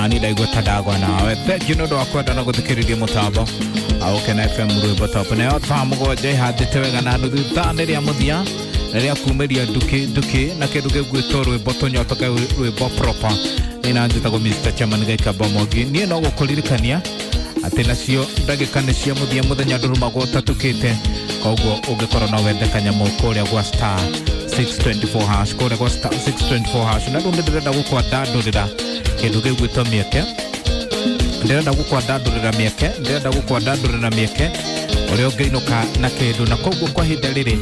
Ani ndaigua ta ndagwa nawe. Thengiũ nĩ ũndũ wa kwenda na gũthikĩrĩria mũtambo Gũkena FM rwĩmbo top. Nayo thaa 7 ihandĩte wega na nuthu thaa nĩ rĩa mũthia rĩrĩa kumĩria nduki nduki na kĩndũ gĩgwĩtwo rwĩmbo tũnyotoke rwĩmbo proper. Nĩ na njĩtagwo Mr. Chairman Gaikamba Mwangi. Niĩ no gũkũririkania atĩ nacio ndagĩka nĩ cia mũthia, mũthenya ndũrumagwo ũtatukĩte. Koguo ũngĩkorwo no wende kanyamũ kũrĩa gwa star 624 hash, kũrĩa gwa star 624 hash. Na rĩu nĩ ndĩrenda gũkwandandũrĩra kĩndũ gĩgwĩtwo mĩeke, ndĩrenda gũkwandandũrĩra mĩeke, ndĩrenda gũkwandandũrĩra mĩeke ũrĩa ũngĩinũka na kĩndũ. Na koguo kwa ihinda rĩrĩ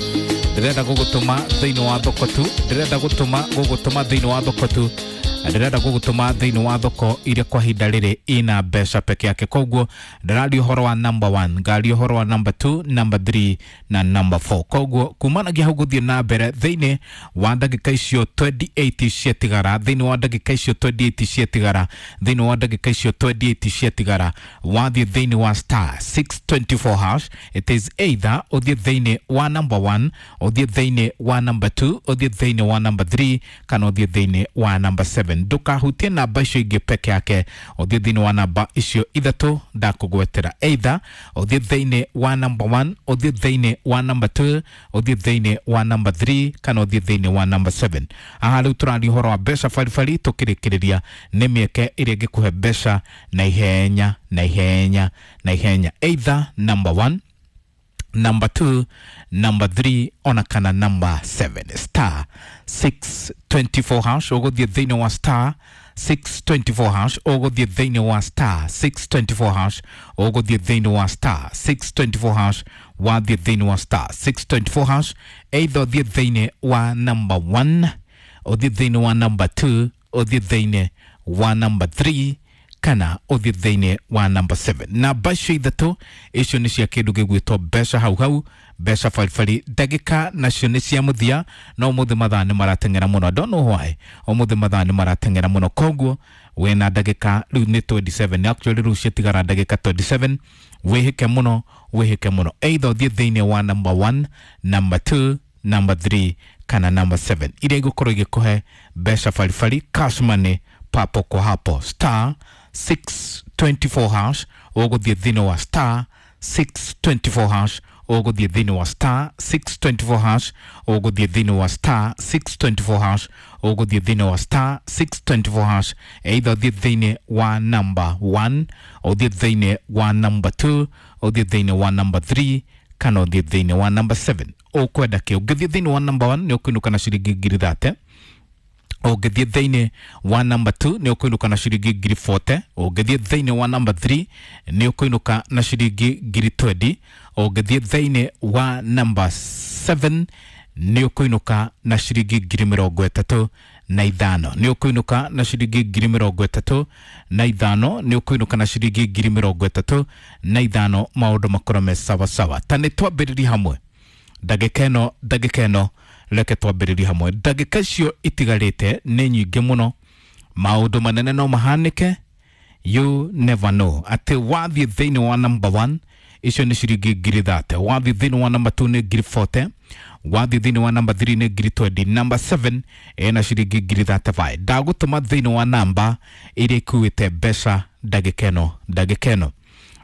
ndĩrenda gũgũtũma thĩinĩ wa thoko tu, ndĩrenda gũtũma gũgũtũma thĩinĩ wa thoko tu, ndĩrenda gũgũtũma thĩinĩ wa thoko iria kwa ihinda rĩrĩ ina mbeca peke yake. Koguo ndĩraria ũhoro wa number 1, ngaria ũhoro wa number 2, number 3 na number 4. Koguo kumanagia hau gũthiĩ na mbere thĩinĩ wa ndagĩka icio 28 ciatigara, thĩinĩ wa ndagĩka icio 28 ciatigara, thĩinĩ wa ndagĩka icio 28 ciatigara, wathiĩ thĩinĩ wa star 624 hash, it is either ũthiĩ thĩinĩ wa number 1, ũthiĩ thĩinĩ wa number 2, ũthiĩ thĩinĩ wa number 3 kana ũthiĩ thĩinĩ wa number 7. Ndũkahutie namba icio ingĩ peke yake, ũthiĩ thĩinĩ wa namba icio ithatũ ndakũgwetera. Either ũthiĩ thĩinĩ wa number 1, ũthiĩ thĩinĩ wa number 2, ũthiĩ thĩinĩ wa number 3 kana ũthiĩ thĩinĩ wa number 7. Haha rĩu tũraria ũhoro wa mbeca baribari, tũkĩrĩkĩrĩria nĩ mĩeke ĩrĩa ĩngĩkũhe mbeca na ihenya na ihenya na ihenya. Either number 1, number 2, number 3 ona kana number 7. Star 624 hash, ũgũthiĩ thĩinĩ wa star 624 hash, ũgũthiĩ thĩinĩ wa star 624 hash, ũgũthiĩ thĩinĩ wa star 624 hash, wathiĩ thĩinĩ wa star 624 hash, either ũthiĩ thĩinĩ wa number 1, ũthiĩ thĩinĩ wa number 2, ũthiĩ thĩinĩ wa number 3 kana ũthiĩ thĩinĩ wa number 7. Namba icio ithatũ icio nĩ cia kĩndũ gĩgwĩtwo mbeca hau hau, mbeca baribari. Ndagĩka nacio nĩ cia mũthia, no ũmũthĩ mathaa nĩ marateng'era mũno. I don't know why ũmũthĩ mathaa nĩ marateng'era mũno. Koguo wĩna ndagĩka rĩu nĩ 27, actually rĩu ciatigara ndagĩka 27. Wĩhĩke mũno, wĩhĩke mũno, either ũthiĩ thĩinĩ wa number 1, number 2, number 3 kana number 7 iria igũkorwo igĩkũhe mbeca baribari, cash money papo kwa hapo. Star 624 hash, ũgũthiĩ thĩinĩ wa star 624 hash, ũgũthiĩ thĩinĩ wa star 624 hash, ũgũthiĩ thĩinĩ wa star 624 hash, ũgũthiĩ thĩinĩ wa star 624 hash, either ũthiĩ thĩinĩ wa number 1, ũthiĩ thĩinĩ wa number 2, ũthiĩ thĩinĩ wa number 3 kana ũthiĩ thĩinĩ wa number 7. Ũkwenda kĩ? Ũngĩthiĩ thĩinĩ wa number 1 nĩ ũkũinũka na ciringi ngiri 30. Ũngĩthiĩ thĩinĩ wa number 2 nĩ ũkũinũka na ciringi ngiri 40. Ũngĩthiĩ thĩinĩ wa number 3 nĩ ũkũinũka na ciringi ngiri 20. Ũngĩthiĩ thĩinĩ wa number 7 nĩ ũkũinũka na ciringi ngiri 35. Nĩ ũkũinũka na ciringi ngiri 35. Nĩ ũkũinũka na ciringi ngiri 35. Maũndũ makorwo me sawasawa. Ta nĩ twambĩrĩrie hamwe ndagĩka ĩno, ndagĩka ĩno reke twambĩrĩrie hamwe. Ndagĩka icio itigarĩte nĩ nyingĩ mũno, maũndũ manene no mahanĩke, you never know. Atĩ wathiĩ thĩinĩ wa number 1 icio nĩ ciringi ngiri 30, wathiĩ thĩinĩ wa number 2 nĩ ngiri 40, wathiĩ thĩinĩ wa number 3 nĩ ngiri 20, number 7 ĩna ciringi ngiri 35. Ndagũtũma thĩinĩ wa namba iria ikuĩte mbeca ndagĩka ĩno, ndagĩka ĩno,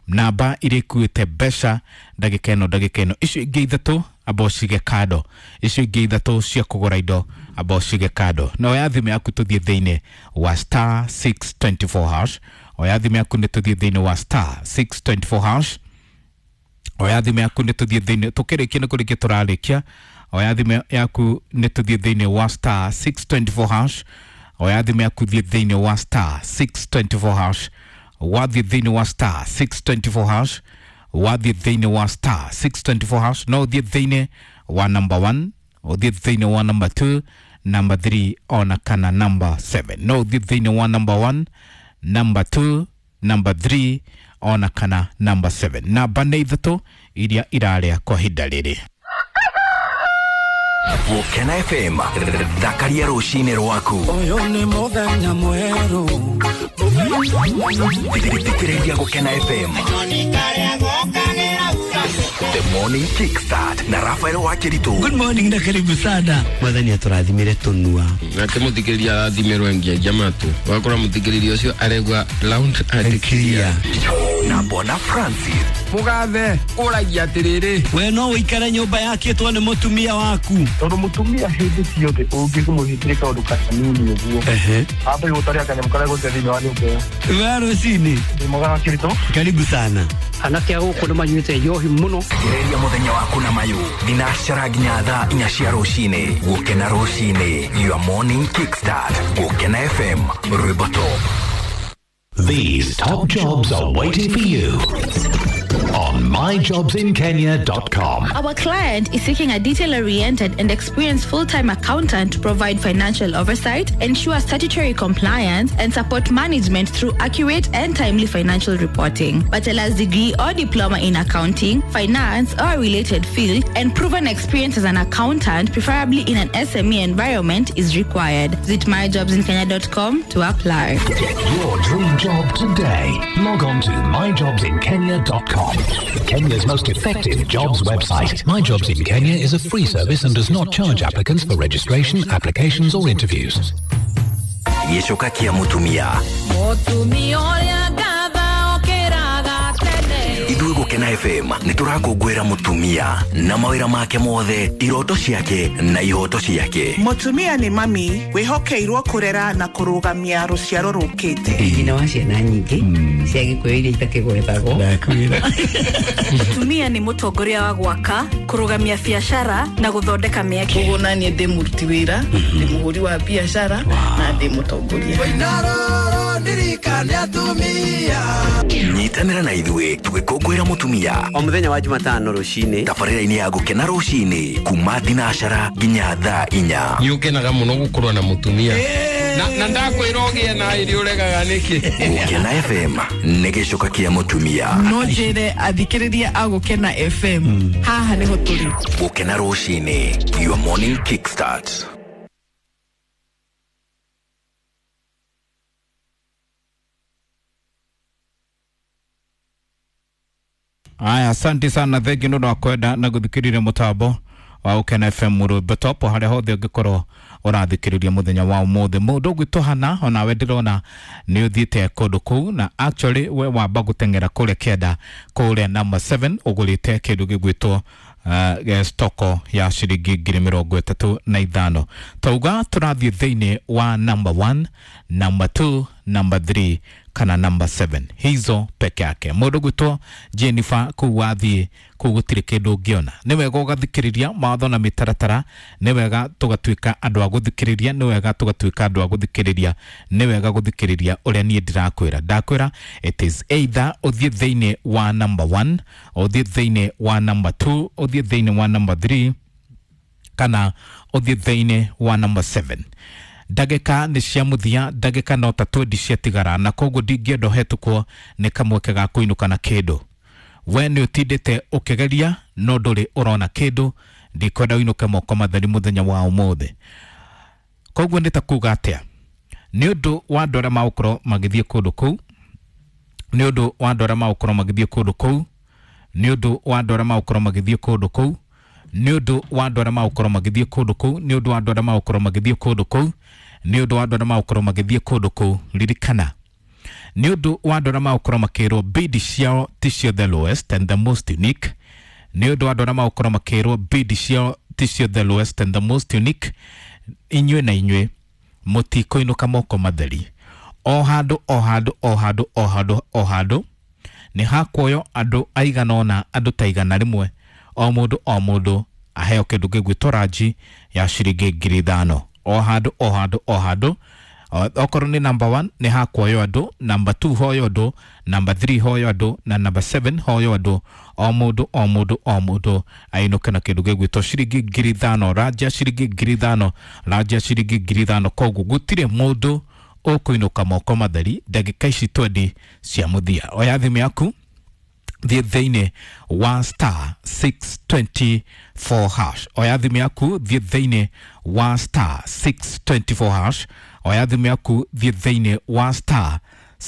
namba iria ikuĩte mbeca ndagĩka ĩno, ndagĩka ĩno. Icio ingĩ ithatũ amba ũcige kando, icio ingĩ ithatũ cia kũgũra indo amba ũcige kando. Na oya thimũ yaku tũthiĩ thĩinĩ wa star 624 hash, oya thimũ yaku nĩ tũthiĩ thĩinĩ wa star 624 hash, oya thimũ yaku nĩ tũthiĩ thĩinĩ, tũkĩrĩkia nĩ kũrĩkia tũrarĩkia. Oya thimũ yaku nĩ tũthiĩ thĩinĩ wa star 624 hash, oya thimũ yaku thiĩ thĩinĩ wa star 624 hash, wathiĩ thĩinĩ wa star 624 hash, wathiĩ thĩinĩ wa star 624 hash, no ũthiĩ thĩinĩ wa number 1, ũthiĩ thĩinĩ wa number 2, number 3 ona kana number 7. No ũthiĩ thĩinĩ wa number 1, number 2, number 3 ona kana number 7. Namba nĩ ithatũ iria irarĩa kwa ihinda rĩrĩ. Gũkena FM, thakaria rũcinĩ rwaku. Ũyũ nĩ mũthenya mwerũ. Thikĩrĩria Gũkena FM. The Morning Kickstart na Rafael Wakiritu. Good morning na karibu sana. Mwathani atũrathimire tũnua. Nake mũthikĩrĩria arathimirwo ngiagia matũ. Wakora mũthikĩrĩria ũcio aregwa round and clear. Na Bona Francis. Mũgathe ũragia atĩrĩrĩ. We no ũikare nyũmba yakĩtwo nĩ mũtumia waku. Tondũ mũtumia hĩndĩ ciothe ũngĩmũhĩtĩria kaũndũ kanini ũguo ambe gũtaria kanyamũ karĩa gũte thĩinĩ wa nyũmba ĩyo. We rũcinĩ. Ndĩ mwega Wakiritu. Karibu sana. Anake a gũkũ nĩ manyuĩte njohi mũno. Gereria mũthenya waku na mayũ thinacara nginya thaa 4 cia rũcinĩ. Gũkena rũcinĩ, your morning kickstart. Gũkena FM, rwĩmbo top. These top jobs are waiting for you on myjobsinkenya.com. Our client is seeking a detail-oriented and experienced full-time accountant to provide financial oversight, ensure statutory compliance, and support management through accurate and timely financial reporting. Bachelor's degree or diploma in accounting, finance, or a related field, and proven experience as an accountant, preferably in an SME environment, is required. Visit myjobsinkenya.com to apply. Get your dream job today. Log on to myjobsinkenya.com. Kenya's most effective jobs website. My Jobs in Kenya is a free service and does not charge applicants for registration, applications, or interviews. Gĩcoka kĩa mũtumia. Mũtumia ũrĩa ngatha okĩraga tene. Ithuĩ Gũkena FM nĩ tũrakũngũĩra mũtumia na mawĩra make mothe, iroto ciake na ihoto ciake. Mũtumia nĩ mami wĩhokeirwo kũrera na kũrũgamia rũciaro rũkĩte. Nyina wa ciana nyingĩ cia gĩkũyũ iria itakĩgwetagwo. Mũtumia nĩ mũtongoria wa gwaka, kũrũgamia biacara na gũthondeka mĩeke. Koguo naniĩ ndĩ mũruti wĩra, ndĩ mũhũri wa biacara na ndĩ mũtongoria. Nyitanĩra na ithuĩ tũgĩkũngũĩra mũtumia o mũthenya wa Jumatano rũcinĩ tabarĩra-inĩ ya Gũkena rũcinĩ kuma thinacara nginya thaa 4. Nĩ ũkenaga mũno gũkorwo na mũtumia na ndakwĩra ũgĩe na irio ũregaga nĩkĩ. Gũkena FM nĩ gĩcoka kĩa mũtumia. No njĩre athikĩrĩria a Gũkena FM haha nĩho tũrĩ. Gũkena rũcinĩ, your morning kickstart. Aya, asante sana, thengi nĩ ũndũ wa kwenda na gũthikĩrĩria mũtambo wa Gũkena FM rwĩmbo top harĩa hothe ũngĩkorwo ũrathikĩrĩria mũthenya wa ũmũthĩ. Mũndũ ũgwĩtwo Hana, onawe ndĩrona nĩ ũthiĩte kũndũ kũu na actually we wamba gũteng'era kũrĩa kĩanda kũrĩa number 7 ũgũrĩte kĩndũ gĩgwĩtwo stoko ya ciringi 35,000. Tauga tũrathiĩ thĩinĩ wa number 1, number 2, number 3 kana number 7, hizo peke yake. Mũndũ gwĩtwo Jennifer kũu wathiĩ kũu gũtirĩ kĩndũ ũngĩona. Nĩ wega ũgathikĩrĩria mawatho na mĩtaratara, nĩ wega tũgatuĩka andũ a gũthikĩrĩria, nĩ wega tũgatuĩka andũ a gũthikĩrĩria, nĩ wega gũthikĩrĩria ũrĩa niĩ ndĩrakwĩra. Ndakwĩra it is either ũthiĩ thĩinĩ wa number 1, ũthiĩ thĩinĩ wa number 2, ũthiĩ thĩinĩ wa number 3 kana ũthiĩ thĩinĩ wa number 7. Ndagĩka nĩ cia mũthia, ndagĩka no ta 20 ciatigara, na koguo ndingĩenda ũhetũkwo nĩ kamweke ga kũinũka na kĩndũ. We nĩ ũtindĩte ũkĩgeria no ndũrĩ ũrona kĩndũ, ndikwenda ũinũke moko matheri mũthenya wa ũmũthĩ. Koguo nĩ ta kuga atĩa? Nĩ ũndũ wa andũ arĩa magũkorwo magĩthiĩ kũndũ kũu, nĩ ũndũ wa andũ arĩa magũkorwo magĩthiĩ kũndũ kũu, nĩ ũndũ wa andũ arĩa magũkorwo magĩthiĩ kũndũ kũu, nĩ ũndũ wa andũ arĩa magũkorwo magĩthiĩ kũndũ kũu, nĩ ũndũ wa andũ arĩa magũkorwo magĩthiĩ kũndũ kũu, nĩ ũndũ wa andũ arĩa magũkorwo magĩthiĩ kũndũ kũu. Ririkana, nĩ ũndũ wa andũ arĩa magũkorwo makĩrwo bid ciao ti cio the lowest and the most unique, nĩ ũndũ wa andũ arĩa magũkorwo makĩrwo bid ciao ti cio the lowest and the most unique, inyuĩ na inyuĩ mũtikũinũka moko matheri. O handũ o handũ o handũ o handũ o handũ nĩ hakuoywo andũ aigana ũna, andũ ta 100, o mũndũ o mũndũ aheo kĩndũ gĩgwĩtwo ranji ya ciringi 5,000. O handũ o handũ o handũ, okorwo nĩ number 1 nĩ hakuoywo andũ, number 2 hoyo andũ, number 3 hoyo andũ na number 7 hoyo andũ. O mũndũ o mũndũ o mũndũ ainũke na kĩndũ gĩgwĩtwo ciringi 5,000, ranji ya ciringi 5,000, ranji ya ciringi 5,000. Koguo gũtirĩ mũndũ ũkũinũka moko matheri ndagĩka ici 20 cia mũthia. Oya thimũ yaku, thiĩ thĩinĩ wa star 624 hash. Oya thimũ yaku, thiĩ thĩinĩ wa star 624 hash. Oya thimũ yaku, thiĩ thĩinĩ wa star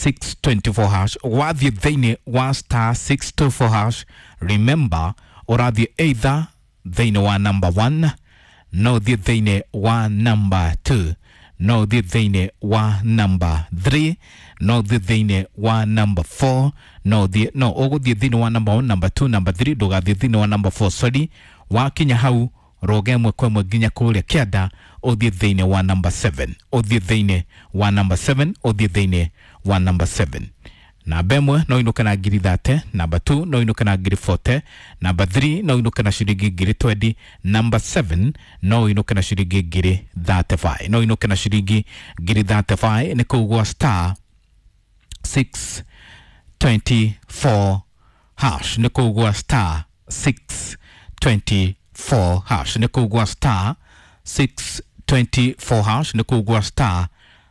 624 hash. Wathiĩ thĩinĩ wa star 624 hash, remember ũrathiĩ either thĩinĩ wa number 1, no ũthiĩ thĩinĩ wa number 2, no ũthiĩ thĩinĩ wa number 3, no ũthiĩ thĩinĩ wa number 4, no ũthiĩ no ũgũthiĩ thĩinĩ wa number 1, number 2, number 3, ndũgathiĩ thĩinĩ wa number 4, sorry. Wakinya hau roga ĩmwe kwa ĩmwe nginya kũrĩa kĩanda, ũthiĩ thĩinĩ wa number 7, ũthiĩ thĩinĩ wa number 7, ũthiĩ thĩinĩ wa number 7. Namba ĩmwe no inũke na ngiri 30, namba 2 no inũke na ngiri 40, namba 3 no inũke na ciringi ngiri 20, namba 7 no inũke na ciringi ngiri 35, no inũke na ciringi ngiri 35. Nĩ kũu gwa star 624 hash, nĩ kũu gwa star 624 hash, nĩ kũu gwa star 624 hash, nĩ kũu gwa star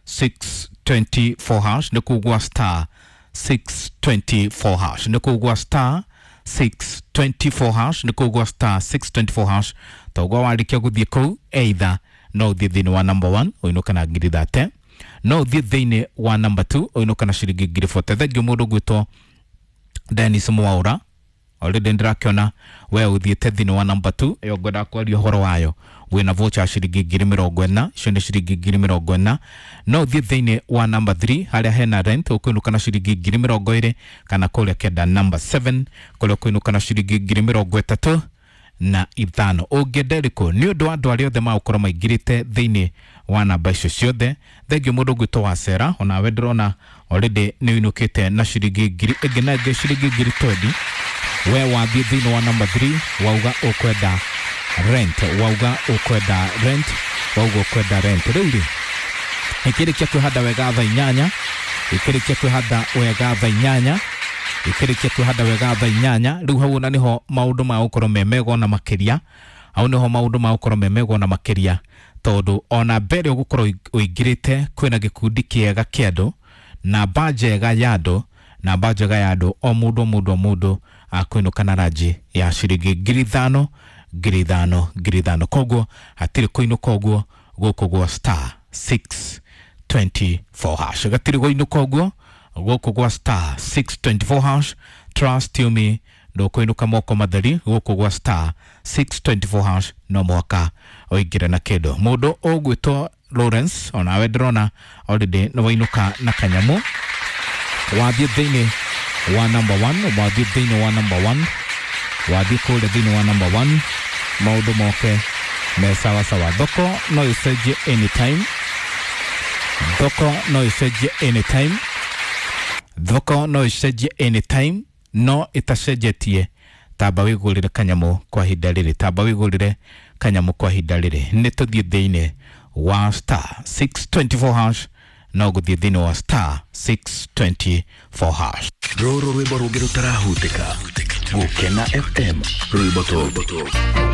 624 hash, nĩ kũu gwa star 624 hash, nĩ kũu gwa star 624 hash, nĩ kũu gwa star 624 hash. Toguo warĩkia gũthiĩ kũu, either no ũthiĩ thĩinĩ wa number 1 ũinũke na ngiri 30, no ũthiĩ thĩinĩ wa number 2 ũinũke na ciringi ngiri 40. Thengiũ mũndũ gwĩtwo Dennis Mwaura, already ndĩrakĩona we ũthiĩte thĩinĩ wa number 2 ĩyo ngwenda kwaria ũhoro wayo, wĩna voucher ya ciringi ngiri 40, icio nĩ ciringi ngiri 40. No ũthiĩ thĩinĩ wa number 3 harĩa hena rent, ũkũinũka na ciringi ngiri 20, kana kũrĩa kenda number 7 kũrĩa ũkũinũka na ciringi ngiri 35. Ũngĩenda ĩrĩkũ? Nĩ ũndũ wa andũ arĩa othe magũkorwo maingĩrĩte thĩinĩ wa namba icio ciothe, thengiũ mũndũ ũgwĩtwo wa Sera, onawe ndĩrona already nĩ ũinũkĩte na ciringi ngiri ĩngĩ na ĩngĩ ciringi ngiri 20. We wathiĩ thĩinĩ wa number 3 wauga ũkwenda rent, wauga ũkwenda rent, wauga ũkwenda rent. Rĩu rĩ, ĩkĩrĩkia kwĩhanda wega thaa 8, ĩkĩrĩkia kwĩhanda wega thaa 8, ĩkĩrĩkia kwĩhanda wega thaa 8. Rĩu hau ona nĩho maũndũ magũkorwo me mega ona makĩria, hau nĩho maũndũ magũkorwo me mega ona makĩria, tondũ ona mbere ũgũkorwo ũingĩrĩte kwĩna gĩkundi kĩega kĩa andũ, namba njega ya andũ, namba njega ya andũ, o mũndũ o mũndũ o mũndũ akũinũka na ranji ya ciringi ngiri 5, ngiri 5, ngiri 5. Koguo hatirĩ kũinũka ũguo gũkũ gwa star 624 hash, gatirĩ kũinũka ũguo gũkũ gwa star 624 hash. Trust you me, ndũkũinũka moko matheri gũkũ gwa star 624 hash, no mũhaka ũingĩre na kĩndũ. Mũndũ ũgwĩtwo Lawrence, onawe ndĩrona already nĩ wainũka na kanyamũ. Wathiĩ thĩinĩ wa number 1, wathiĩ thĩinĩ wa number 1, wathiĩ kũrĩa thĩinĩ wa number 1, maũndũ moke me sawa sawa. Thoko no ĩcenjie anytime, thoko no ĩcenjie anytime, thoko no ĩcenjie anytime, no ĩtacenjetie. Tamba wĩgũrĩre kanyamũ kwa ihinda rĩrĩ, tamba wĩgũrĩre kanyamũ kwa ihinda rĩrĩ. Nĩ tũthiĩ thĩinĩ wa star 624 hash, no gũthiĩ thĩinĩ wa star 624 hash. Rũrũ rwĩmbo rũngĩ rũtarahutĩka. Gũkena FM, rwĩmbo top.